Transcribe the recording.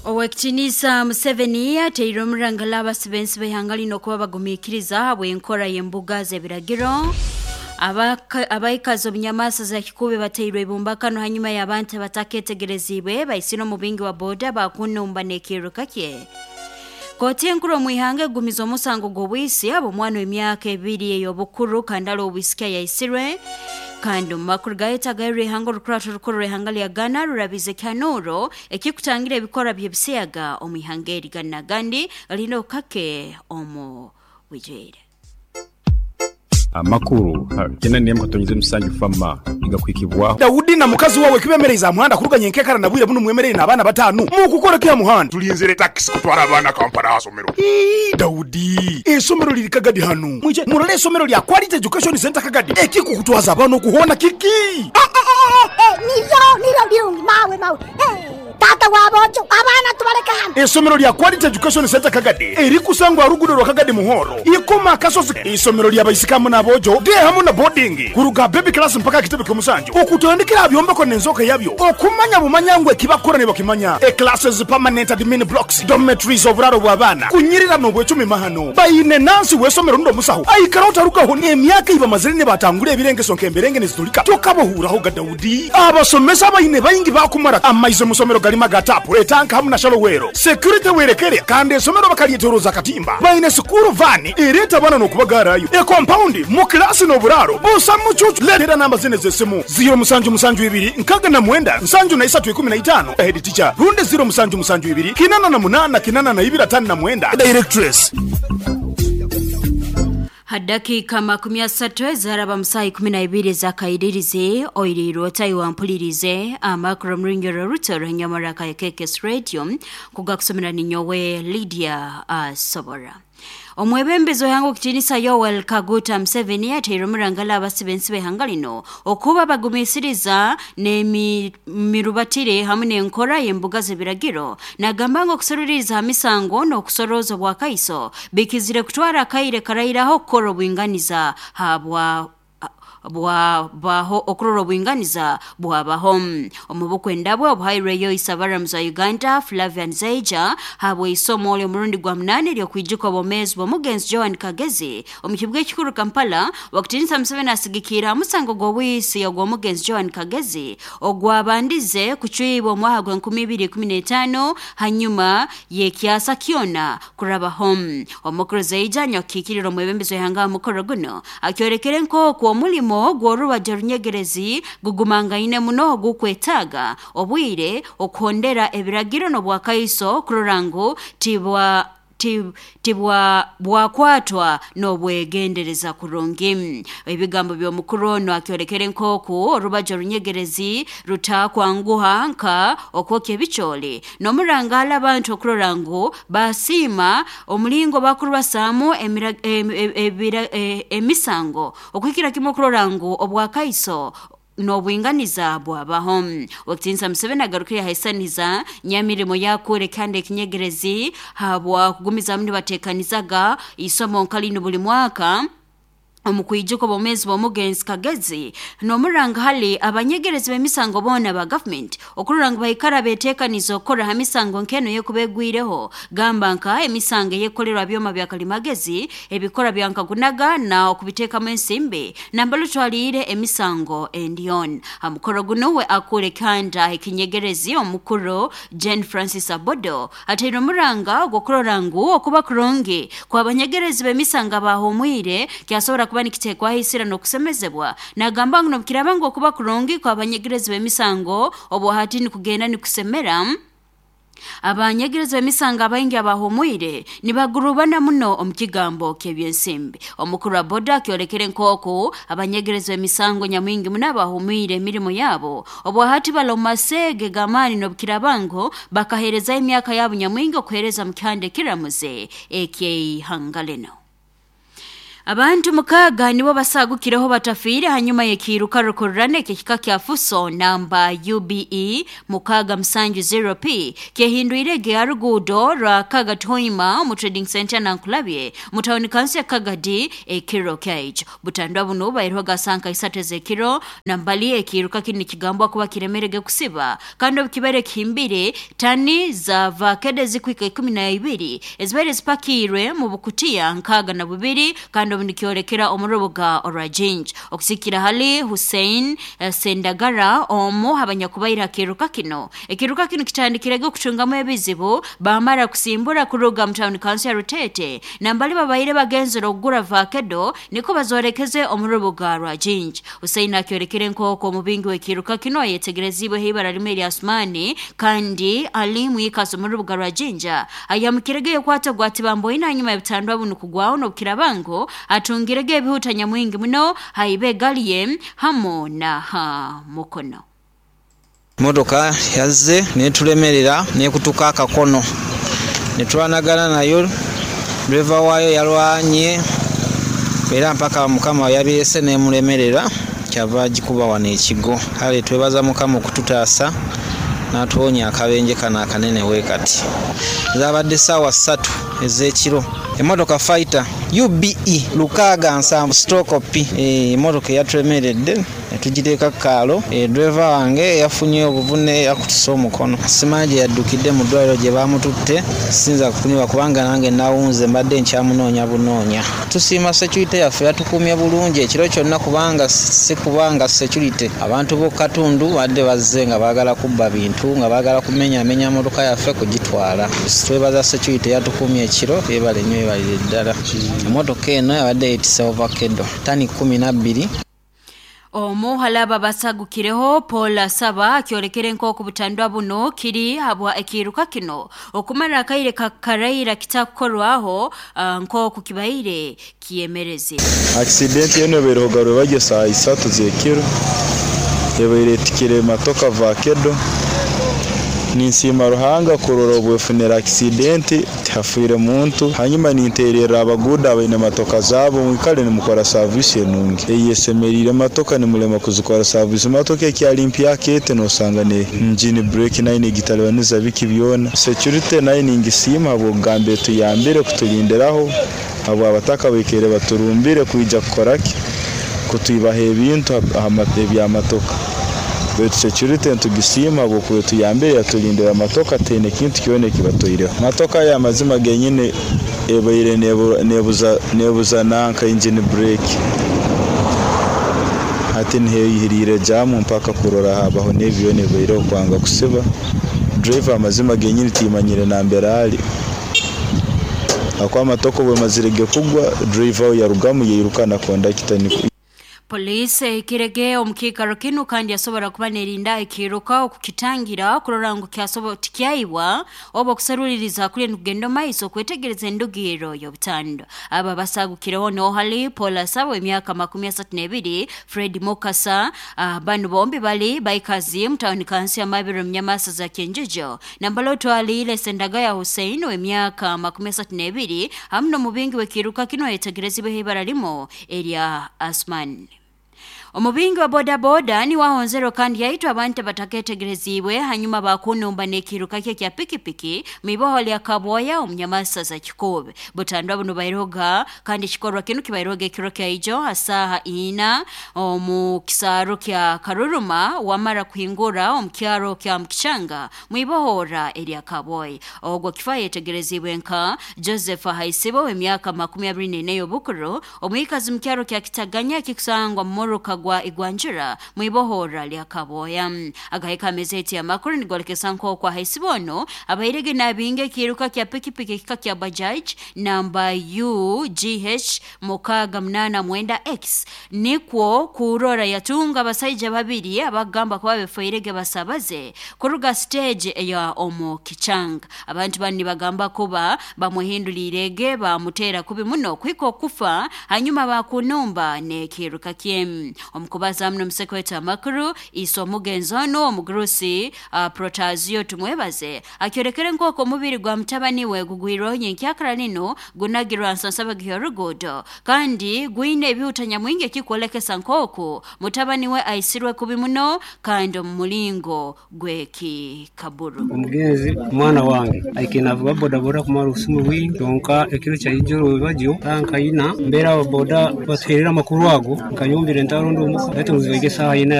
Owekitinisa Museveni ateire omurangala abasibensi b'ihanga lino okuba bagumiikiriza habw'enkora y'embuga z'ebiragiro. Abaikazi obunyamasa za kikube bateirwe ibumbakano hanyuma y'abantu abataketegereziibwe baisire omubingi wa boda bakunumba n'ekiruka kye. Kooti enkuru omu ihanga egumiza omusango gw'obwisi ab'omwana w'emyaka 2 ey'obukuru kandala obwisiki ayaisirwe. Kandi omu makuru gayetagayo, ihanga orukurato rukuru rw'ihanga lya Ghana rurabize ekihanuro ekikutangira ebikorwa by'ebisiyaga omu ihanga eri. Gana gandi galina okukake omu bwijwire. Amakuru 81.7 fama igakwikibwaho. Daudi na mukazi wawe kibemereize aha muhanda kuruga nyenkekara na bwire buno mwemereire n'abaana 5 mukukora ki aha muhanda? Tulinzire takisi kutwara abaana Kampala aha somero. Ii, Daudi, esomero liri Kagadi hanu. Mwije murole esomero lya Quality Education Center Kagadi. Ekikukutwaza abaana okuhoona kiki? Niryo niryo birungi mawe mawe. Tata wabojo abaana tubaleka hano. Esomero lya Quality Education Center Kagadi erikusangwa rugudo rwa Kagadi Muhoro ikoma akasozi. Isomero lya baisikamu n'abojo de hamu na boarding kuruga baby class mpaka kitebe ky'omusanju okutandikira byombeko n'enzoka yabyo okumanya bumanya ngu ekibakora nibakimanya. E classes, permanent admin blocks, dormitories, oburaro bw'abaana kunyirira n'obwecumi mahano. Baine nansi w'esomero ndo musaho aikara otarugaho n'emyaka ibamazire nibatangura ebirengeso nk'emberenge nizitulika tokabohuraho ga Daudi. Abasomesa baine baingi bakumara amaizi mu somero galima ga tapu etanka hamu na shalowero security werekere. Kandi esomero bakalyetoroza katimba. Baine sukuru vani ereta abana n'okubagarayo e compound mu klasi n'oburaro busa mucucu. Letera namba zine z'esimu 072 69 73 15 head teacher runde 0772 88 82 59 directress. Hadakika 30 ezaraba musayi 12 zakairirize oirirwe otayiwampulirize amakuru muringero ruto nyamara ka KKS Radio kugakusomera ninyowe Lydia Sobora. Omwebembezi w'ihanga okutinisa Yoweri Kaguta Museveni ateire omurangala abasibensi b'ihanga lino okuba bagumisiriza n'emirubatire hamwe n'enkora y'embuga z'ebiragiro. Nagamba ngu okusororeriza ha misango n'okusoroza obwakaiso bikizire kutwara akaire karairaho okukora obwinganiza habwa bwabaho okurora obwinganiza bwabaho. Omu bukwenda bwe obuhairweyo isabaramuzi wa Uganda Flavian Zeija habwe isomo ly'omurundi gwa 8 ery'okwijuka obwomeezi bw'omugenzi Joan Kagezi omu kibuga ekikuru Kampala, wakutinisa Museveni asigikira musango gw'obwisi ogw'omugenzi Joan Kagezi ogwabandize kucwibwa omwaka gwa 2015 hanyuma y'ekyasa kyona kurabaho. Omukuru Zeija anyakukiikirira omwebembezi w'ihanga mukoro guno akyorekere nk'oku omulimo gw'orubaja runyegerezi gugumangaine muno ogukwetaaga obwire okuhondera ebiragiro n'obwakaiso kurora ngu tibwa tibwa bwakwatwa n'obwegendereza kurungi. Ebigambo by'omukuru ono akyolekere nk'oku orubaja runyegerezi rutakwanguha nka okwokya ebicooli n'omurangala abantu okurora ngu basiima omulingo bakurubasaamu emisango okuhikira kimwe okurora ngu obwakaiso n'obwinganiza bwabaho. Wakitinsa Museveni agarukire haisaniza nyamirimo yakure kandi ekinyegerezi habwa kugumizamu nibatekanizaga isomo nkalino buli mwaka omukwijuka obwomeezi bw'omugenzi Kagezi n'omuranga hali abanyegerezi b'emisango boona ba government okurora ngu baikara beteekaniza okukora ha misango nk'eno yekubegwireho, gamba nka emisango eyekolerwa byoma bya kalimagezi ebikora bya nkagunaga na okubiteekamu ensimbi nambala otwaliire emisango endion. Ha mukoro guno we akure kanda ekinyegerezi omukuru Jane Francis Abodo ateire omuranga ogw'okurora ngu okuba kurungi kw'abanyegerezi b'emisango abahumwire kyasobora kuba nikitekwaho isira n'okusemezebwa. Nagamba ngu nobukiraba ngu okuba kurungi kw'abanyegerezi b'emisango obwo hati nikugenda nikusemera, abanyegerezi b'emisango abaingi abahumwire nibagurubana muno omu kigambo ky'ebyensimbi. Omukuru wa boda akyolekere nk'oku abanyegerezi b'emisango nyamwingi muno abahumwire emirimo yabo obwo hati bali omu maseege g'amaani n'obukiraba ngu bakaheerezayo emyaka yabo nyamwingi okuheereza mu kihanda ekiramuze eky'eihanga lino. Abantu 6 nibo basagukireho batafiire hanyuma y'ekiiruka rukururana ekihika kya Fuso namba UBE 670P kyehindwirege aruguudo rwa Kagatoima omu trading center Nankulabye mu tawuni kansi ya Kagadi ekiro kyaijo. Butandwa buno bairwaga sanka 3 z'ekiro nambali ekiiruka kini kigambwa kuba kiremerege kusiba kandi obukibere kihimbire tani za vakede zikwika 12 ezibaire zipakirwe mu bukutiya 62 kandi nikyolekera omurubuga orwa Jinja. Okusikira hali Hussein Sendagara omu abanyakubaira kiruka kino. Ekiruka kino kitandikirege okutungamu ebizibu bamara kusimbura kuruga mu town council ya Rutete nambali babaire bagenzera okugura vakedo niko bazorekeze omurubuga rwa Jinja. Hussein akyolekere nk'oko omubingi w'ekiruka kino ayetegerezibwe ibara limwe erya Asmani kandi ali mwikaso omurubuga rwa Jinja ayamukirege yokwata gwatibamboina hanyuma y'ebitandwa bunu kugwaho n'obukirabango atungirege ebihuta nyamwingi muno haibe galiye hamo na ha mukono. Motoka yazze netulemerera nekutuka akakono netwanagana nayo, driver waayo yalwanye era mpaka Mukama yabirese nemulemerera kyava agikuba wano ekigo. Kale twebaza Mukama okututaasa n'atuwonya akabenje kano akanene we kati. Zaabadde ssaawa 3 ez'ekiro. Emmotoka Fighter UBE 67 stroke P, emmotoka eyatulemeredde netugiteeka ku kaalo. Driver wange yafunye obuvune yakutuse omukono, simanyi gye yaddukidde mu ddwaliro gye baamututte, siyinza kunywa kubanga nange nawunze mbadde nkyamunoonya bunoonya. Tusiima security yaffe yatukuumye bulungi ekiro kyonna kubanga si kubanga security abantu b'oku katundu badde bazze nga baagala kubba bintu nga baagala kumenyaamenya mmotoka yaffe kugitwala. Twebaza security yatukuumye ekiro, yeebale nnyo yeebalire ddala. Emmotoka eno yabadde yeetisse ovakedo ttani 12. Omu halaba basagukireho Paul Asaba akyolekere nk'oku butandwa buno kiri habwa ekiruka kino okumara akaire kakaraira kitakukorwaho nk'oku kibaire kiyemereze. Accident eno ebaire bagye saa 3 z'ekiro ebaire etikire matoka vakedo. Ninsiima Ruhanga kurora obwefunira accident tihafiire muntu. Hanyuma nintererra abaguda abaine matoka zaabo mwikale nimukora service enungi eyesemeriire matoka nimulema kuzikora service. Matoka ekyali mpya kete nosanga ne engine brake nayo negitalibaniza biki byona. Security nayo ningisiima habw'okugambe tuyambire kutulindiraho abo abataka baikere baturumbire kwija kukoraki kutwibaha ebintu ebyamatoka. Baitu security ntugisiima habwokuba tuyambire yatulindira amatoka tene kintu kyona ekibatoireho. Matoka ya mazima genyine ebaire nebuza nanka engine brake hati niheyihiriire jamu mpaka kurora habaho n'ebyo nebaireho kwanga kusiba. Driver amazima genyine timanyire nambere ali akwa amatoko bwemazirege kugwa driver yarugamu yeiruka na kondakita. Polisi ikirege omukikaro kinu kandi yasobora kuba nerinda ekiruka okukitangira kurora ngu kyasobo tikyaiwa oba okusaruliriza kuli nukugenda maiso okwetegereza endugiro y'obutando. Aba basagukireho nohali Paul Asabo emyaka 32, Fred Mukasa, banu bombi bali baikazi mutawuni kansi ya Mabiro mnyamasa za Kenjejo. Nambalo twalile Sendagaya Hussein w'emyaka 32 hamno mubingi w'ekiruka kino yetegerezibwe ibara limo erya Asman. Omubingi wa boda boda ni wahonzero kandi yaitwa abantu bataketegerezibwe hanyuma bakunumba n'ekiruka kye kya pikipiki miboho lya Kaboya omunyamasa za Kikobe. Butandwa buno bairoga kandi kikorwa kinu kibairoga ekiro kya ijo asaha 4 omu kisaro kya Karuruma wamara kuhingura omukyaro kya Mkichanga mwibohora erya Kaboya. Ogwo kifa yetegerezibwe nka Joseph Haisibo w'emyaka 24 y'obukuru omwikazi mukyaro kya Kitaganya kikusangwa mmoruka gwa Igwanjira mwibohora lya Kaboya. Agaheka amezeti ya makuru nigolekesa nk'okwa Haisibono abairege nabinge kiruka kya pikipiki kika kya Bajaj namba UGH 689X nikwo kurora yatunga abasaija babiri abagamba kuba befoirege basabaze kuruga stage eya omu kichanga. Abantu bani bagamba kuba bamuhindulirege bamutera kubi muno kwiko kufa hanyuma bakunumba ne kiruka kiem. Omukubaza muno omusekweta amakuru iso omugenzi ono omugurusi Protazio Tumwebaze akyorekere nk'oku omubiri gwa mutabani we gugwirweho nyenkyakara nino gunagirwa nsansabagi y'oruguudo kandi gwine ebihuta nyamwingi ekikwolekesa nk'oku mutabani we aisirwe kubi muno kandi omu mulingo gw'ekikaburu. Omugenzi mwana wange aikire navuga bodaboda kumara obusumu bwingi, kyonka ekiro kyaijoro bagyo nkaina mbeera ababoda batuherera amakuru ago, nkayumbira entaro ndi omuka, baitu ngu zibaire esaaha ina.